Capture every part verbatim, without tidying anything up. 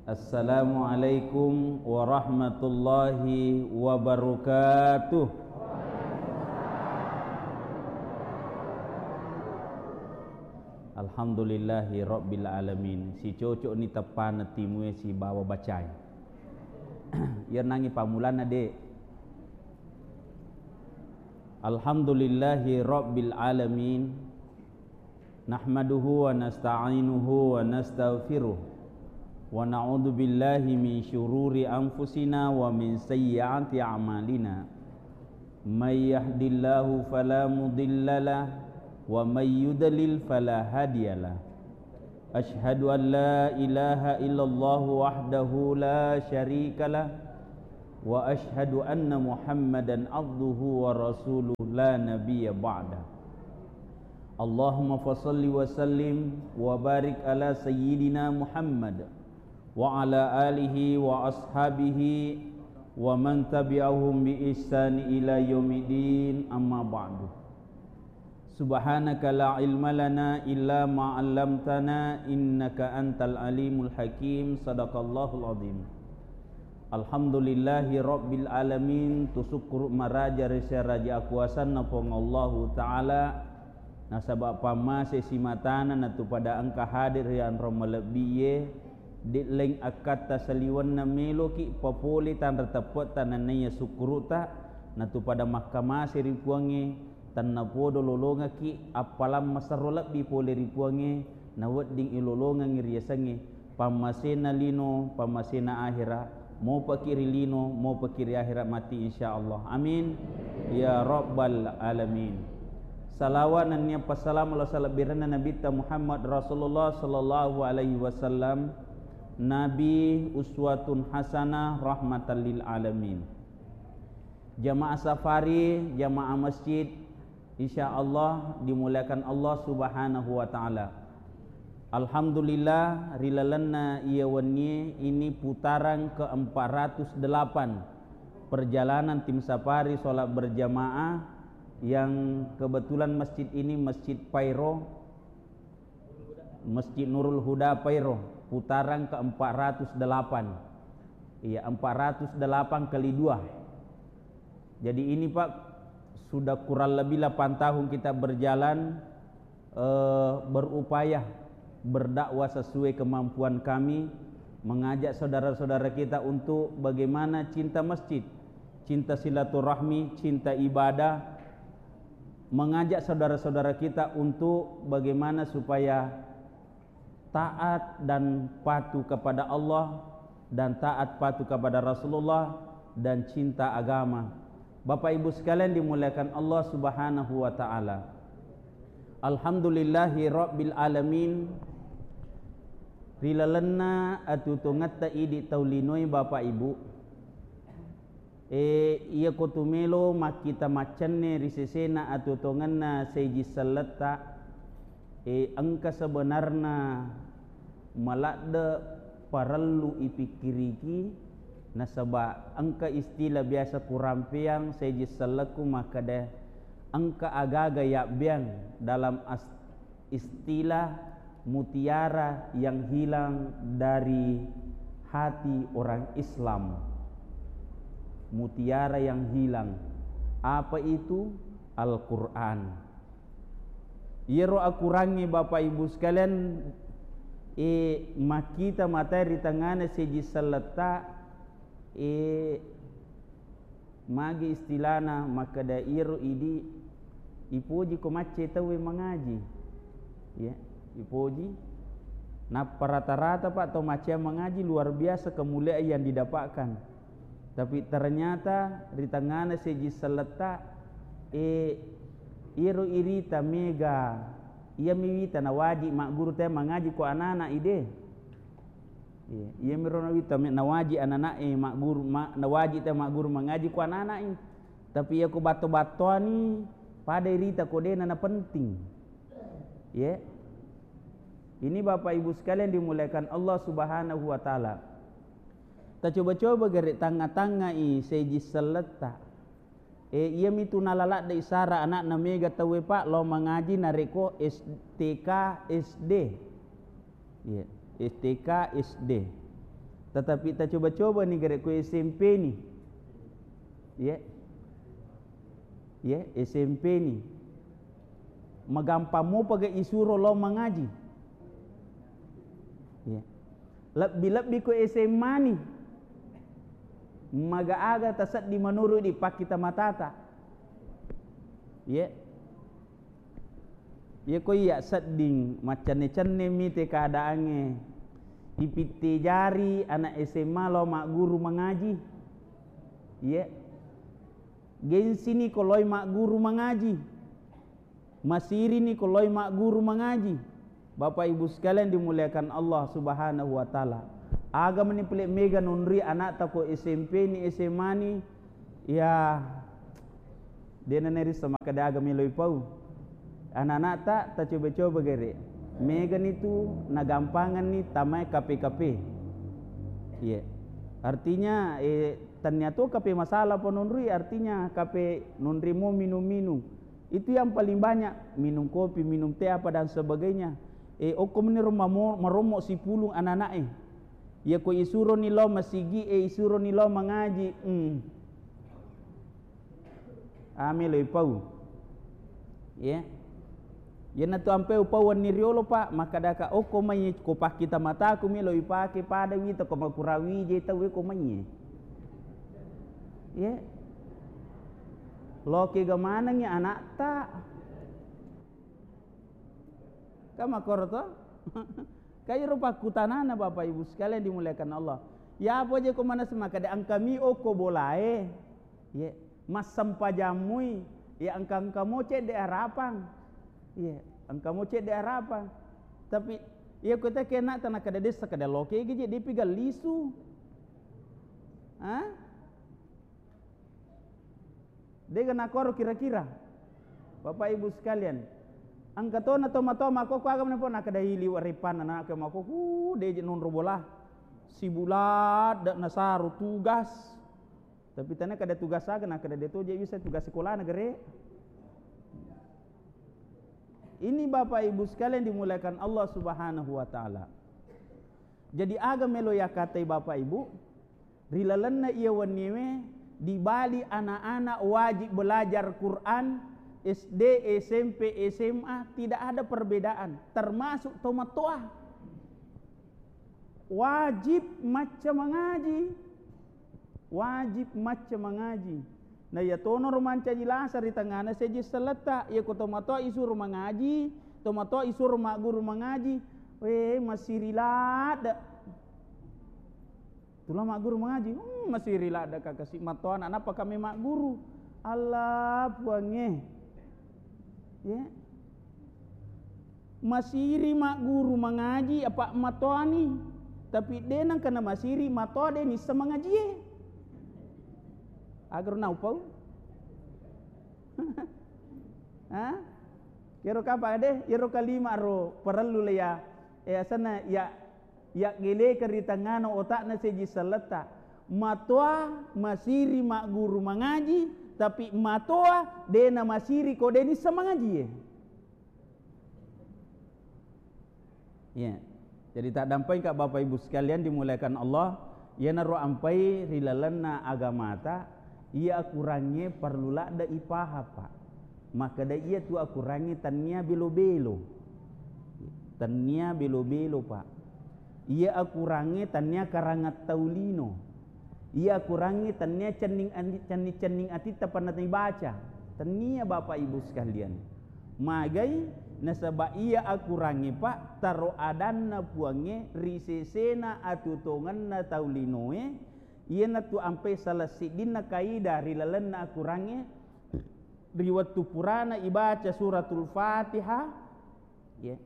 Assalamualaikum warahmatullahi wabarakatuh. Alhamdulillahi rabbil alamin. Sicocok ni teppana timue sibawa bacai. Iya nangi pammulanna, Dek. Alhamdulillahi rabbil alamin. Nahmaduhu wa nasta'inuhu wa nastaghfiruh. Wa na'udzu billahi min syururi anfusina wa min sayyiati a'malina. May yahdillahu fala mudilla lah, wa may yudlil fala hadiya lah. Asyhadu an la ilaha illallah wahdahu la syarika lah, wa asyhadu anna Muhammadan abduhu wa rasuluh la nabiyya ba'dah. Allahumma fasalli wa sallim wa barik ala sayyidina Muhammad wa ala alihi wa ashabihi wa man tabi'ahum bi ihsani ila yaumiddin, amma ba'du. Subhanaka la ilma lana illa ma 'allamtana innaka antal alimul hakim. Sadaqallahul azim. Alhamdulillahi rabbil alamin. Tusukkuru maraja ri seraja akuasanna Puang Allahu Ta'ala, nasaba pammase simatana natu pada engka hadir ri anro malebbi'e, de' leng akkatta saliwenna meloki papole tanra teppe'ta nenniya sukkuru'ta, natu pada makkamase ri Puangnge, tennapodo lolongekki appalang maserro lebbi pole ri Puangnge, nawedding ilolongengngi riasengnge pammasena lino, pammasena ahera, mopaki ri lino, mopaki ri ahera matti, insyaallah. Amin ya rabbal alamin. Salawa nennia passalama lao salebbirenna Nabitta Muhammad Rasulullah sallallahu alaihi wasallam, Nabi uswatun hasanah rahmatan lil alamin. Jamaah safari, jamaah masjid, insyaallah dimuliakan Allah Subhanahu wa Ta'ala. Alhamdulillah, ri lalenna iya wennie ini putaran keempat ratus delapan perjalanan tim safari sholat berjamaah yang kebetulan masjid ini Masjid Pairo, Masjid Nurul Huda Pairo, putaran keempat ratus delapan. Iya, empat ratus delapan kali dua. Jadi ini, Pak, sudah kurang lebih delapan tahun kita berjalan, eh, berupaya berdakwah sesuai kemampuan kami, mengajak saudara-saudara kita untuk bagaimana cinta masjid, cinta silaturahmi, cinta ibadah, mengajak saudara-saudara kita untuk bagaimana supaya taat dan patuh kepada Allah dan taat patuh kepada Rasulullah dan cinta agama. Bapak Ibu sekalian dimuliakan Allah Subhanahu wa Ta'ala. Alhamdulillahi Rabbil Alamin. Ri lalenna atuo-tuongetta idi tau linoe, Bapak Ibu, e, iyako tumelo makkita maccenne ri sesena atuo-tuongenna seji selletta, e, engka sebenarna maladde parellu ipikkiriki, nasaba engka istilah biasa kurampeang seji sellekku makkeda, engka agaga yabbeang dalam as-, istilah mutiara yang hilang dari hati orang Islam. Mutiara yang hilang. Apa itu? Al-Quran. Iyaro akurangnge, Bapak Ibu sekalian, e, makkita matae ri tengngana seji selletta, e, magi istilana makkeda iyaro idi ipoji ko macce tauwe mangaji. Ya, ipoji. Nappa rata-rata, Pak, tau maccea mangaji luar biasa kemuliaan yang didapatkan. Tapi ternyata ri tengngana seji selletta, e, iyaro irita mega, iyami wita nawaji magguru te mangaji ko anana ide. Iya, iyamiro nawita me-, nawaji anana'e magguru, ma-, nawaji te magguru mangaji ko anana'e. Tapi iya ko batto-battoani, pada irita ko dena napenting. Iya. Ini Bapak Ibu sekalian dimuliakan Allah Subhanahu wa Ta'ala. Tacoba-coba gare tangnga-tangngai seji selletta. E, iyamitu nalaladde isara anakna mega tauwe, Pak, lao mangaji narekko S T K, S D. Iya, S T K, S D. Tetapi tacoba-coba ni gare ko S M P ni. Ye. Ye, S M P ni. Magampang mopa ga isuro lao mangaji. Ye. Lebbi-lebbi ko S M A ni. Maga aga tasedding menurut di pakkita matata. Ye. Iya ko iya sedding maccenne-cenne mite keadaangnge, ipitte jari anak S M A lao magguru mangaji. Iya. Gengsi ni ko loi magguru mangaji. Masiri ni ko loi magguru mangaji. Bapak Ibu sekalian dimuliakan Allah Subhanahu wa Ta'ala. Aga meni pale mega nonri anakta ko S M P ni, S M A ni, ya, dena nerissa makkeda aga melo ipau. Anak-anakta tacoba-coba gare. Megani tu nagampanganni tamai K P K P. Iya. Artinya, eh, tania to K P masalah pononrui, artinya K P nonri mo minum-minum. Itu yang paling banyak, minum kopi, minum teh apa dan sebagainya. Eh, okko meniro mamo-, marommo sipulung anak-anak eh. Iya ko isuro ni lao masigi, eh, isuro ni lao mangaji. Hmm. Ame lo ipau. Iya. Iyanatu ampe upau wenni riolo, Pak, makkadaka, "Okko mai ko pakkita mataku mi lo ipake pada wita ko makurawi je tau ko mai." Iya. Loke ga manengi anakta. Ka makkoro to? Ka iro pakkutanana, Bapak Ibu sekalian dimuliakan Allah. Ya apa je ko manessa makkada engka mi okko bolae. Ye, massempajammui, ya engka-engka mo cedde arapang. Ye, engka mo cedde arapang. Tapi iya ko ta kena tana kada dessa kada loke ge je depi gallisu. Ha? Dega nakoro kira-kira. Bapak Ibu sekalian, engka tona toma-toma koko aga mena pona kada ili waripana na ke mako ku deje nonro bola. Sibulat dak nasaru tugas. Tapi tana kada tugas aga na kada deto je bisa tugas sekolah negeri. Ini Bapak Ibu sekalian dimuliakan Allah Subhanahu wa Ta'ala. Jadi aga melo yakatai Bapak Ibu, ri lalenna iya wenniewe dibali anak-anak wajib belajar Quran, S D, S M P, S M A, tidak ada perbedaan, termasuk tomatoa. Wajib macca mangaji. Wajib macca mangaji. Na iya tonoro mancaji lasa ri tengngana seji selletta. Iya ko tomatoa isuro mangaji, tomatoa isuro magguru mangaji, we, masiri ladde. Tula magguru mangaji, hmm, masiri ladde kakasi matoana, nappa kami magguru. Allah Puangnge. Ya. Masiri magguru mangaji apa matoani, tapi de nangkana masiri matoa de nissa mangajie. Agaro naupau? Ha? Kero kapa de, iyaro kalima ro parellu le ya, eh, asenna ya, ya geleka ri tengngana otakna seji selletta. Matoa masiri magguru mangaji, tapi matoa de namasiri ko de nissa mangajie. Iya. Jadi taddampai ka Bapak Ibu sekalian dimuliakan Allah, iyanaro ampai ri lalenna agamata, iya akurangnge parlu ladde ipahang, Pak. Makkeda iya tu akurangnge tannia belo-belo. Tannia belo-belo, Pak. Iya akurangnge tannia karangattau lino. Iya akurangnge tannia cenning andi-, cenning-cenning atitta panna ibaca. Tannia Bapak Ibu sekalian. Magai nasaba iya akurangnge, Pak, taro adanna Puangnge ri sesena atutongenna tau linoe, iyanatu ampai salah siddinna kaidah ri lalenna akurangnge ri wettu purana ibaca suratul Fatihah, ya.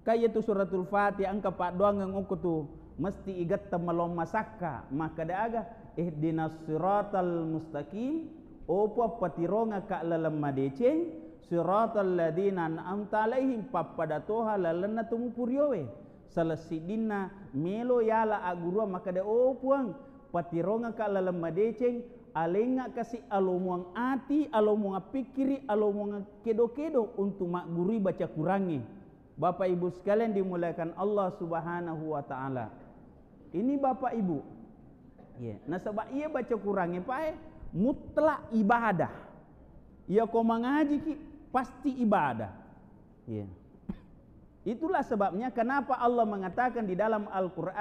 Ka iyatu suratul Fatihah engka paddoangeng okko tu mesti igatteng malong masakka, makkeda aga, "Ihdinas siratal mustaqim," o Puang, patirongakka laleng madeceng, "siratal ladzina an'amta alaihim," pappada toha lalenna tu mupuriowe. Salah siddinna melo yala agguruang makkeda, "O Puang, patirongakka laleng madeceng, alengnga kasi alomuang ati, alomuang pikkiri, alomuang kedo-kedo untuk maggurui baca kurangnge." Bapak Ibu sekalian dimuliakan Allah Subhanahu wa Ta'ala. Ini Bapak Ibu, Iya, nasaba iya baca Qurangnge pae mutlak ibadah. Iya ko mangajiki pasti ibadah. Iya. Itulah sebabnya kenapa Allah mengatakan di dalam Al-Quran,